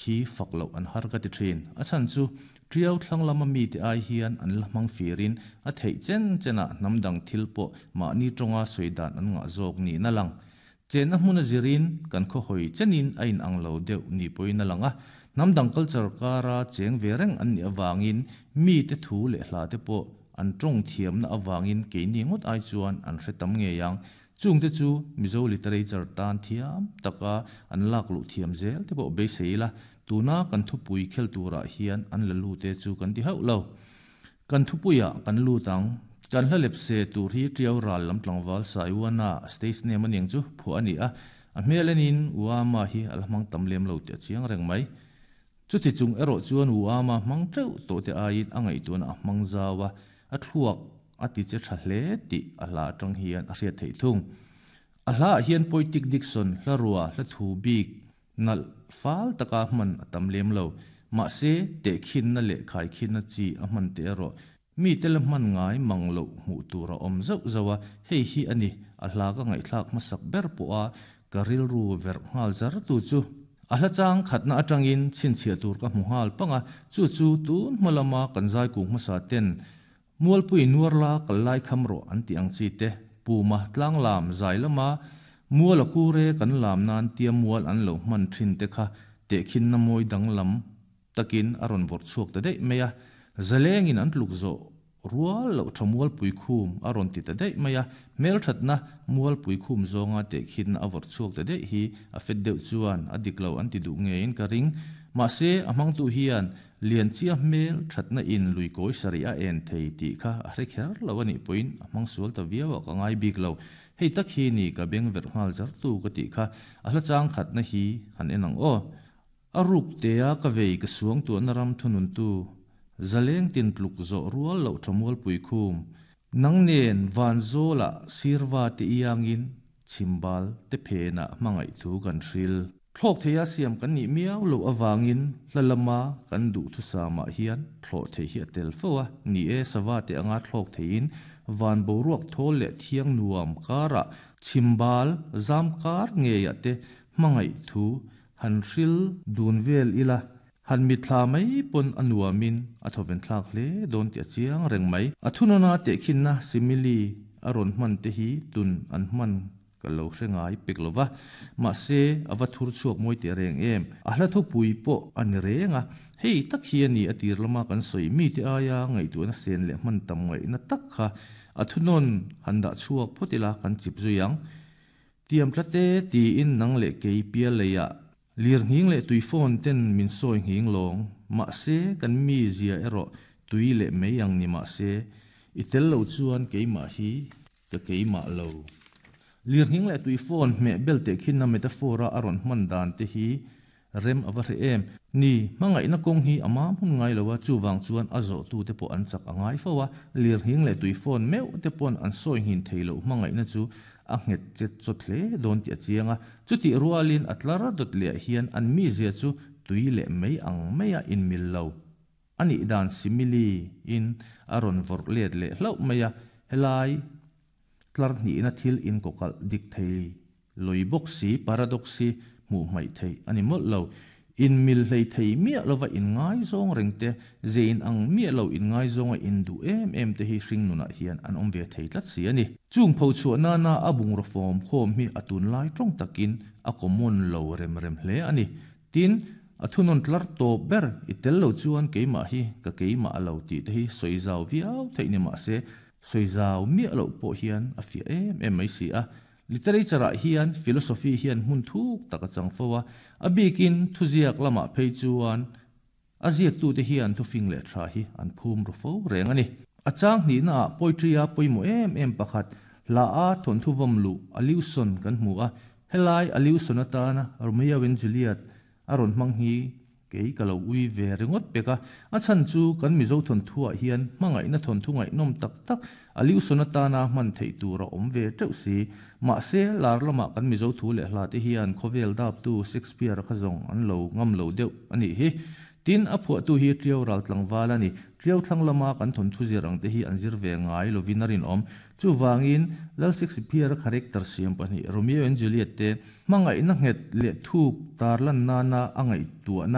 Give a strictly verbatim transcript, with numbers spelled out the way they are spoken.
Hi fak lo an har ka ti thin. A chan chu triau thlang lama mi te ai hian an la hmang firin a theih chen chena hnamdang thil pawh mahni tawnga sawidan an ngah zawk ni na lang. Chen a hmun a zirin kan khaw hawi chenin a in ang lo deuh ni pawhin a lang a. Hnamdang culture kara cheng ve reng an nih awangin mi te thu leh hla te pawh an tawng thiamna awangin keini ngawt ai chuan an hre tam ngei ang. Chung te chu Mizo literature tan thiam taka an lak luh thiam zel te pawh beisei la. Tuna kan thupui khel turah hian an la lu te chu kan ti hauh lo. Kan thupuia kan lu tang kan hla lep se tur hi triau ral lam tlangwal Saiwana stage name aniang chu phu ani a. A hmelenin uama hi a la hmang tam lem lo te a chiang reng mai. Chuti chung erawh chuan uama hmang teuh tawh te aiin a ngaihtuahna a hmang zawa a thluak a ti che tha hle tih a hla atang hian a hriat theih thung. A hla ah hian Poetic Diction hla rua hla thu bik nal fal taka hman a tam lem lo. Mahse te khin na leh khai khin na chi a hman te erawh mi te la hman ngai mang lo hmuh tur a awm zauh zauh a. Hei hi ani a hla ka ngaihthlak hmasak ber pawh a ka rilru verh nghal zar tu chu. A hla chang khatna atangin chhinchhiah tur ka hmu nghal panga chu chu tun hma lama kan zai kung hmasa ten mualpui nuar la kal lai kham rawh an ti ang chi te puma tlang lam zai lama mual a kure kan lam nan tia mual an lo hman thin te kha te khin na mawi dang lam takin a rawn vawrh chhuak ta daih mai a. Zalengin an tluk zawh rual lo tha mual pui khum a rawn ti ta daih mai a. Hmel thatna mual pui khum zawnga te khin a vawrh chhuak ta daih hi a fet deuh chuan a dik lo an ti duh ngeiin ka ring. Mahse a hmang tu hian lian chia hmel thatna in lui kawi sari a en thei tih kha a hre kher lo ani pawhin a hmang sual ta viau a ka ngai bik lo. Hei tak hi ni ka beng verh nghal zar tu ka tih kha a hla chang khatna hi han en ang aw. A ruk te a ka vei ka suang tu na ram thunun tu zaleng tin tluk zawh rual lo tha mual pui khum nang nen van zawla sirwa te iangin chimbal te phena hmangaih thu kan hril. Thlawk theia siam kan nih miau lo awangin hla lama kan duh thu samah hian thlawh thei hi a tel fo a. Ni e sawa te anga thlawk theiin van boruak thawl leh thiang nuam kara chimbal zam kar ngeia te hmangaih thu han hril dun vel ila. Han mi thla mai pawn a nuamin a thawven thlak hle dawn ti a chiang reng mai. A thunawna te khinna simile a rawn hman te hi tun an hman ka lo hre ngai pek lova. Mahse a va thur chhuak mawi te reng em. A hla thupui pawh a ni reng a. Hei tak hi ani a tir lama kan sawi mi te aia ngaihtuahna sen leh hman tam ngaihna tak kha a thunawn han dah chhuak phawt ila kan chip zui ang. Tiam tlate tiin nang leh kei pial leiah lir nghing leh tui phone ten min sawi nghing lawng. Mahse kan mi zia erawh tui leh mai ang ni mahse i tel lo chuan keimah hi ka keimah lo. Lir nghing leh tui phone hmeh bel te khin na metaphor a rawn hman dan te hi rem a va hre em. Ni hmangaihna kawng hi a mam hun ngai lo a, chuwang chuan a zawh tu te pawh an chak a ngai fo a. Lir nghing leh tui phone meuh te pawn an sawi nghin thei lo hmangaihna chu a nghet chet chawt hle dawn ti a chiang a. Chuti rualin a tlar dawt leh hian an mi zia chu tui leh mai ang mai a in mil lo. Ani dan simile in a rawn vawrh let leh hlauh mai a. Helai tlar hnihna thil in kawkalh dik thei loi bawk si paradox si hmuh hmaih thei ani mawlh lo. In mil hlei thei miah lova in ngai zawng reng te zein ang miah lo in ngai zawnga in duh em em te hi hring nunah hian an awm ve thei tlat si ani. Chung pho chhuah nana a bungraw fawm khawm hi a tun lai tawng takin a common lo rem rem hle ani. Tin a thunawn tlar tawp ber i tel lo chuan keimah hi ka keimah lo tih te hi sawi zau viau theih ni mahse sawi zau miah lo pawh hian a fiah em em mai si a. Literature ah hian philosophy hian hmun thuk tak a chang fo a. A bikin thuziak lamah phei chuan a ziak tu te hian thufing leh tha hi an phum ru fo reng ani. A chang hnihna ah poetry a pawimawh em em pakhat hla a thawn thu vawm luh allusion kan hmu a. Helai allusion atana Romeo and Juliet a rawn hmang hi kei ka lo ui ve ringawt pek a. A chan chu kan Mizo thawn thuah hian hmangaihna thawn thu ngaihnawm tak tak allusion atana hman theih tur a awm ve teuh si. Mahse lar lama kan Mizo thu leh hla te hian khawvel dap tu Shakespeare kha zawng an lo ngam lo deuh ani hi. Tin a phuah tu hi triau ral tlangwal ani. Triau thlang lama kan thawn thu zir ang te hi an zir ve ngai lovin a rin awm. Chuwangin Lal Shakespeare character siam pahnih Romeo and Juliet te hmangaihna nghet leh thuk tarlan nana a ngaihtuahna